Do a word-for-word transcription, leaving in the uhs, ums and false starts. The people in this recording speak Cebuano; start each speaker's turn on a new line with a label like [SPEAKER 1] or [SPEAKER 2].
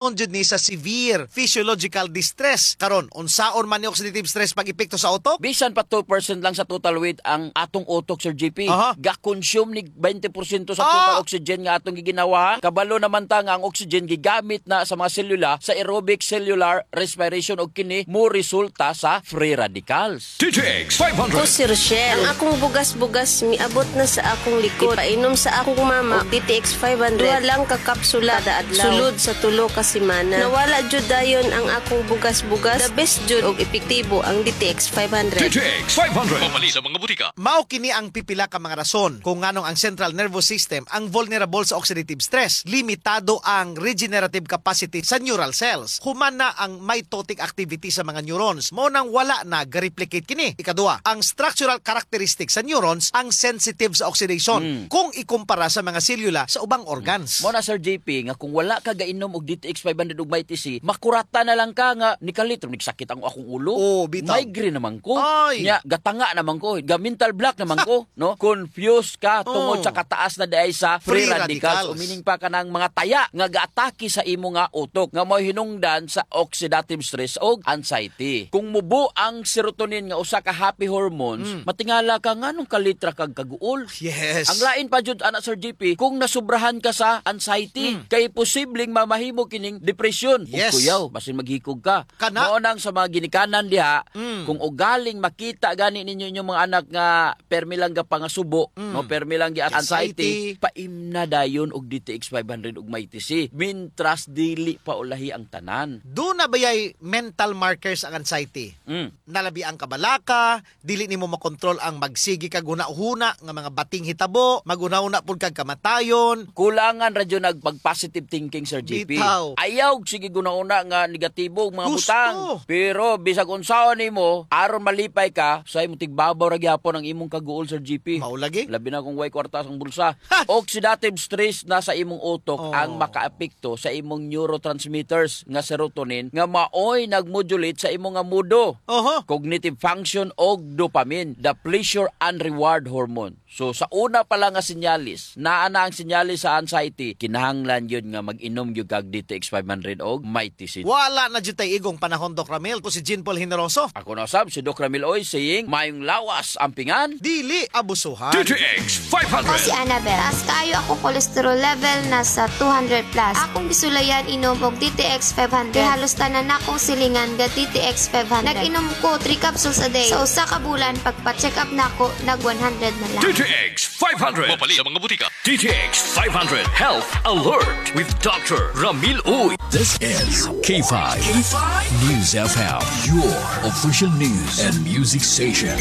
[SPEAKER 1] Jud ni sa severe physiological distress. Karon, unsaon man ni oxidative stress pag-epekto sa utok?
[SPEAKER 2] Bisan pa two percent lang sa total weight ang atong utok, Sir J P.
[SPEAKER 1] Aha.
[SPEAKER 2] Ga-consume ni twenty percent sa
[SPEAKER 1] Ah!
[SPEAKER 2] total oxygen nga atong giginawa. Kabalo naman ta nga ang oxygen gigamit na sa mga selula sa aerobic cellular respiration og kini mo resulta sa free radicals.
[SPEAKER 3] D T X five hundred.
[SPEAKER 4] Ko si Rochelle. Ang akong bugas-bugas miabot na sa akong likod. Painom sa akong mama og D T X five hundred. Duha lang ka kapsula kada adlaw. Sulod sa tulo ka semana. Nawala jud dayon ang akong bugas-bugas. The best jud og epektibo ang D T X five hundred.
[SPEAKER 3] D T X five hundred.
[SPEAKER 5] Pamalit sa mga butika.
[SPEAKER 1] Mao kini ang pipila ka mga rason kung nganong ang central nervous system ang vulnerable sa oxidative stress. Limitado ang regenerative capacity sa neural cells. Human na ang mitotic activity sa mga neurons. Mao nang wala na ga-replicate kini. Ikaduha, ang structural characteristics sa neurons ang sensitive sa oxidation kung ikumpara sa mga selula sa ubang organs.
[SPEAKER 2] Mao na, Sir J P, nga kung wala ka gainom og D T X five hundred ug Mighty C, makurata na lang ka nga nikalit nagsakit ang akong ulo.
[SPEAKER 1] Oh, bitaw.
[SPEAKER 2] Migraine naman ko.
[SPEAKER 1] Ay.
[SPEAKER 2] Nya gatanga naman ko, ga mental block naman ko, no? Confused ka tungod
[SPEAKER 1] Oh.
[SPEAKER 2] sa kataas na diay sa free
[SPEAKER 1] free
[SPEAKER 2] radicals.
[SPEAKER 1] radicals.
[SPEAKER 2] O meaning pa kanang mga taya nga gaatake sa imo nga utok nga mo'y hinungdan sa oxidative stress og anxiety. Kung mubo ang serotonin nga usa ka happy hormones,
[SPEAKER 1] Hmm.
[SPEAKER 2] matingala ka nganong kalitra kag kaguol.
[SPEAKER 1] Yes.
[SPEAKER 2] Ang lain pa jud ana, Sir J P, kung nasubrahan ka sa anxiety, kay posibleng mamahimo kining depression.
[SPEAKER 1] Hmm. Yes.
[SPEAKER 2] Ug kuyaw, basin maghikog ka.
[SPEAKER 1] Kana.
[SPEAKER 2] Mao nang sa mga ginikanan diha,
[SPEAKER 1] Mm.
[SPEAKER 2] kung ugaling makita gani ninyo inyong mga anak nga permi lang ga pangasubo, no, permi lang gi anxiety,
[SPEAKER 1] Anxiety.
[SPEAKER 2] paimna dayon og D T X five hundred ug Mighty C. Mintras dili pa ulahi ang tanan.
[SPEAKER 1] Duna bayay mental markers ang anxiety?
[SPEAKER 2] Mm.
[SPEAKER 1] Nalabi ang kabalaka, dili nimo makontrol ang magsigi kag huna-huna nga mga bating hitabo, maghuna-huna pud kag kamatayon.
[SPEAKER 2] Kulangan radyo nag positive thinking, Sir J P.
[SPEAKER 1] Bitaw.
[SPEAKER 2] Ayaw sige guna-una nga negatibo ang mga
[SPEAKER 1] Gusto.
[SPEAKER 2] butang. Pero bisag unsaon nimo aron malipay ka, sa imong tigbabaw ra gyapon ang imong kaguol, Sir J P.
[SPEAKER 1] Mao lagi.
[SPEAKER 2] Labi na kung way kwarta ang bulsa.
[SPEAKER 1] Ha!
[SPEAKER 2] Oxidative stress na sa imong utok
[SPEAKER 1] Oh.
[SPEAKER 2] ang makaapekto sa imong neurotransmitters nga serotonin nga maoy nagmodulate sa imong nga mudo,
[SPEAKER 1] Oho.
[SPEAKER 2] cognitive function og dopamine, the pleasure and reward hormone. So sa una pa lang nga sinyalis, naa na ang sinyalis sa anxiety, kinahanglan yun nga mag-inom gyud kag D T X five hundred og Mighty Seed.
[SPEAKER 1] Wala na jud tay igong panahon, Doc Ramil. Ko si Jean Paul Generoso.
[SPEAKER 2] Ako na sab si Doc Ramil Oy saying, mayong lawas ampingan.
[SPEAKER 1] Dili abusuhan.
[SPEAKER 3] D T X
[SPEAKER 6] Ako
[SPEAKER 3] five hundred.
[SPEAKER 6] si Annabel. Taas kaayo ako cholesterol level, nasa two hundred plus. Akong gisulayan inom og D T X five hundred. Kay halos tanan akong silingan ga D T X five hundred. Nag-inom ko three capsules a day. Sa usa ka bulan, pagpa-check up nako, nag one hundred na lang.
[SPEAKER 3] D T X five hundred.
[SPEAKER 5] Mapalit sa mga butika.
[SPEAKER 3] D T X five hundred Health Alert with Doctor Ramil Uy.
[SPEAKER 7] This is K five News F M, your official news and music station.